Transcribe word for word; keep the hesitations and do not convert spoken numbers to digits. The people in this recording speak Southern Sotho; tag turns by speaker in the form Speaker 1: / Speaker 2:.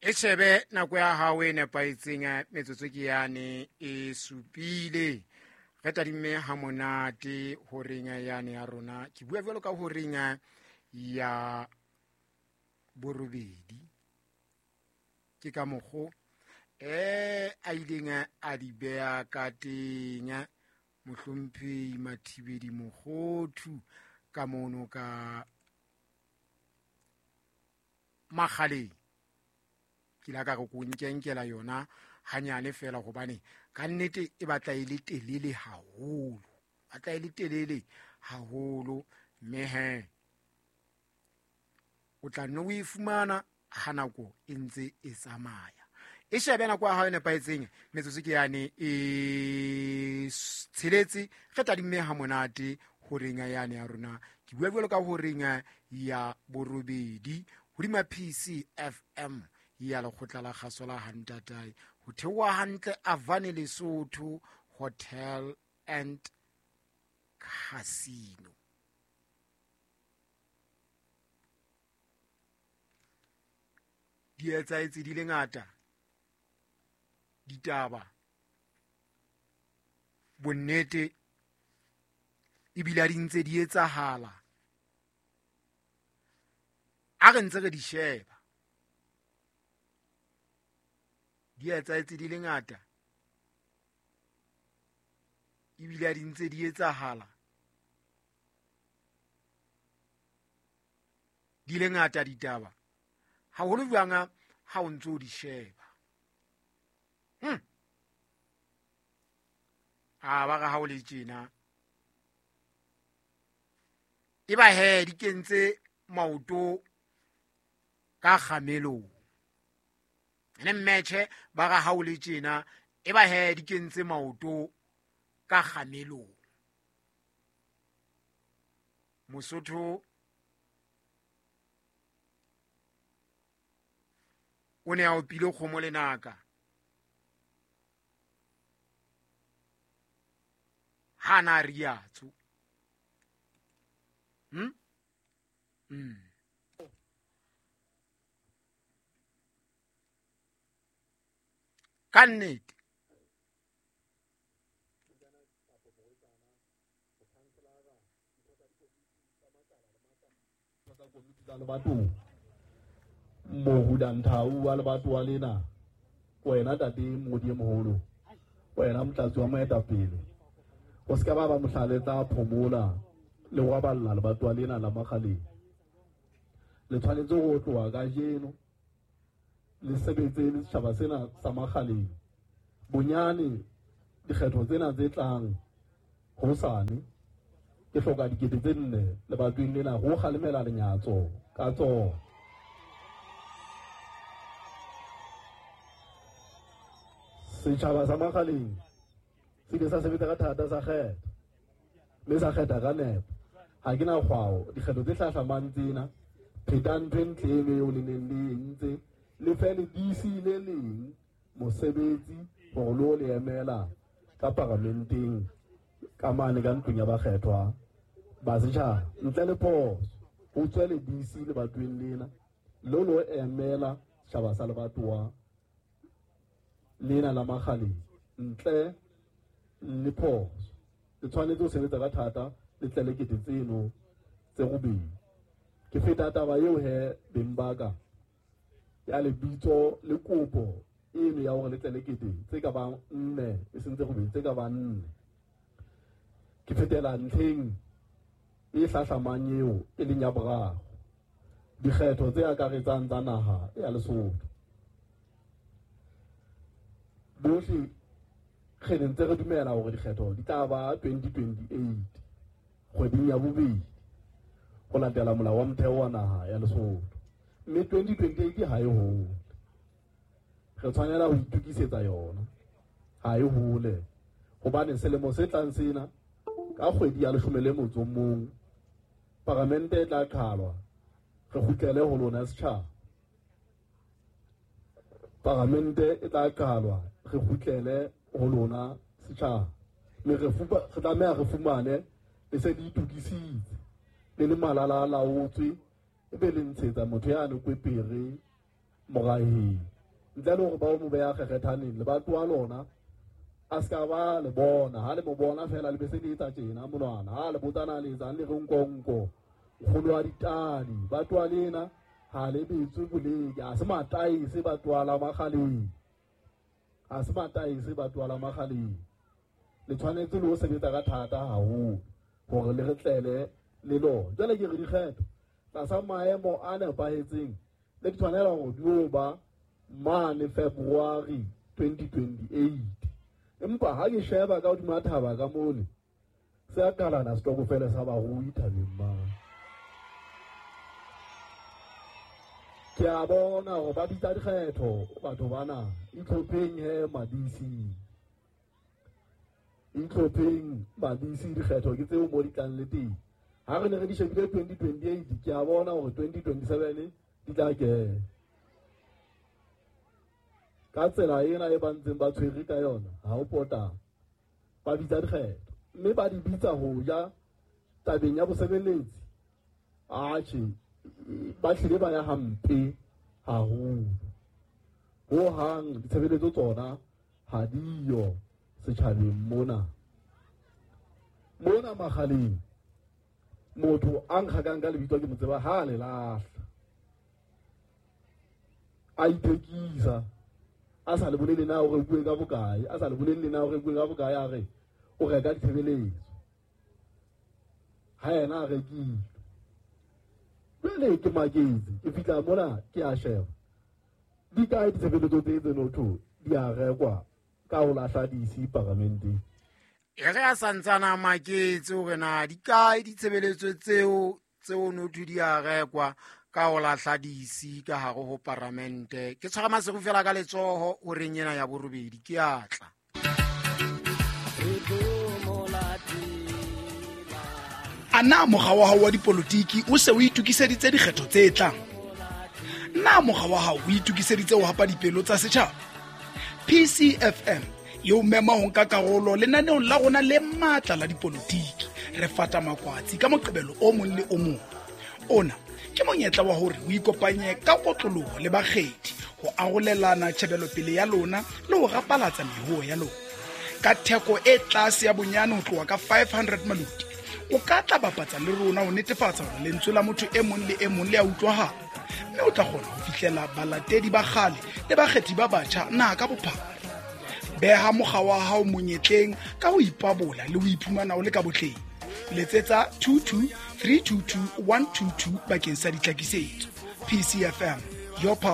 Speaker 1: E shebe nako ya hao e nepahetseng, metsotso ke yane e supile. Re tadimme ha monate horeng yane ya rona. Ke bua jwalo ka horeng ya borobedi. Ke ka mokgo eh a ileng a di beha ka teng Mohlomphehi Mathibeli Mokhothu ka mono ka Makgaleng. Ke la ka re ko nkenkela yona hanyane fela hobane ka nnete e batla e le telele haholo, batla e le telele haholo, mme he o tla nne o e fumana ha nako e ntse e tsamaya. E shebe nako ya hao e nepahetseng, metsotso ke yane e tsheletse. Re tadimme ha monate horeng yane ya rona. Ke bua jwalo ka horeng ya borobedi hodima P C F M ya lekgotla la kgaso la Hantatai, ho theoha hantle Avane Lesotho Hotel and Casino. Di etsahetse di le ngata ditaba, bonnete ebile di ntse di etsahala. A re ntse re di sheba, di etsahetse di le ngata ebile di ntse di etsahala, di le ngata ditaba, haholo jwang ha o ntso di sheba. Hmm. A ba ga ha o le tjena e ba he di kentse maoto ka kgamelong. Ene mmetjhe ba ga ha o le tjena e ba he di kentse maoto ka kgamelong. Mosotho o ne a opile kgomo lenaka ha na riatso. Hmm? Mm. Ka nnete
Speaker 2: Mohudanthau wa lebatowa lena, wena tate Modi e moholo, wena motlatsi wa moetapele, o se ka ba ba mohlaletsa phomola le go balla lebatowa lena la Makgaleng. Le tshwanetse go tloha kajeno le sebetse le setjhaba sena sa Makgaleng. Bonyane dikgetho tsena tse tlang hosane, ke hloka dikete tse nne lebatoweng lena go kgalemela lenyatso ka tsona. Setjhaba sa Makgaleng se ile sa sebetsa ka thata, sa kgetha mme sa kgetha ka nepo. Ha ke na kgwao dikgetho tse hlahlamang tsena, pheta ntho e ntle eno eo le neng le entse, le fe le D C le leng mosebetsi hore lo le emela ka paramenteng ka mane ka ntlong ya bakgethwa ba setjhaba. Ntle le phoso, ho tswe le D C lebatoweng lena lo lo emela setjhaba sa lebatowa lena la Makgaleng ntle le phoso. Le tshwanetse ho sebetsa ka thata le tle le kete tseno tse robedi. Ke feta taba eo he beng ba ka ya lebitso le kopo eno ya hore le tle le kete tse ka bang nne, e seng tse robedi, tse ka bang nne. Ke fetela ntlheng e hlahlamang eo e leng ya boraro, dikgetho tse akaretsang tsa naha ya Lesotho. Bohle re ne ntse re dumela hore dikgetho di tla ba twenty twenty-eight kgweding ya bobedi ho latela molao wa motheo wa naha ya Lesotho, mme twenty twenty-eight ha e hole. Re tshwanela ho itokisetsa yona, ha e hole, hobane selemo se tlang sena ka kgwedi ya leshome le motso o mong paramente e tla qhalwa, re kgutlele ho lona setjhaba. Paramente e tla qhalwa, re kgutlele ho lona setjhaba, mme re tlameha re fumane le se le itokisitse le le malala a laotswe, ebe le ntshetsa motho yane kwepere moraheng. Ntle le hore ba o mo beha kgekgethaneng lebatowa lona a se ka ba le bona. Ha le mo bona fela le be se le etsa tjena monwana, ha le botsana le etsang le re nkonko nkgono wa ditadi. Batowa lena ha le betswe boleke, ha se mataese batowa la Makgaleng, ha se mataese batowa la Makgaleng. Le tshwanetse le ho sebetsa ka thata haholo hore le re tlele le lona. Jwale ke re dikgetho tlasa maemo a nepahetseng le di tshwanela hore di o ba mane February twenty twenty-eight. Empa ha ke sheba ka hodima thaba ka mole, se a kalana setokofele sa barui thabeng mane. Ke a bona hore ba bitsa dikgetho batho bana, itlhopheng he madisi, itlhopheng madisi, dikgetho ke tseo mo di tlang le teng. Ha re ne re di shebile twenty twenty-eight, ke a bona hore twenty twenty-seven di tla kena. Ka tsela ena e ba ntseng ba tshwere ka yona, ha o pota ba bitsa dikgetho, mme ba di bitsa ho ja tabeng ya bosebeletsi. Atjhe, ba hlile ba ya hampe haholo ho hang. Ditshebeletso tsona ha diyo setjhabeng mona. Mona Makgaleng motho a nkgakang ka lebitso ke mo tseba ha le lahla, a ithekisa, a sa le bolele na o rekuwe ka bokae, a sa le bolele na o rekuwe ka bokae, a re o reka ditshebeletso, ha yena a rekile. Jwale ke maketse, ke fihla mona ke a sheba di kae ditshebeletso tse tse notho di a rekwa ka ho lahla di-I C paramenteng.
Speaker 1: E re a santsana a maketse hore na di kae ditshebeletso tseo tseo notho di a rekwa ka ho lahla di-I C ka hare ho paramente. Ke tshwara Maseru fela ka letsoho horeng ena ya borobedi, ke a tla.
Speaker 3: A na mokga wa hao wa dipolotiki o se o itokiseditse dikgetho tse tlang? Na mokga wa hao o itokiseditse ho hapa dipelo tsa setjhaba? P C F M e o mema ho nka karolo lenaneong la rona le matla la dipolotiki. Re fata makwatsi ka Moqebelo o mong le o mong. Ona ke monyetla wa hore o ikopanye ka kotloloho le bakgethi ho arolelana tjhebelopele ya lona le ho rapalatsa mehoo ya lona. Ka theko e tlase ya bonyane ho tloha ka five hundred maluti, o ka tla bapatsa le rona ho netefatsa hore lentswe la motho e mong le e mong le a utlwahala, mme o tla kgona ho fihlela balatedi ba kgale le bakgethi ba batjha naha ka bophara. Beha mokga wa hao monyetleng ka ho ipabola le ho iphumana o le ka botleng. Letsetsa two two three two two one two two bakeng sa ditlhakisetso. P C F M, your pulse.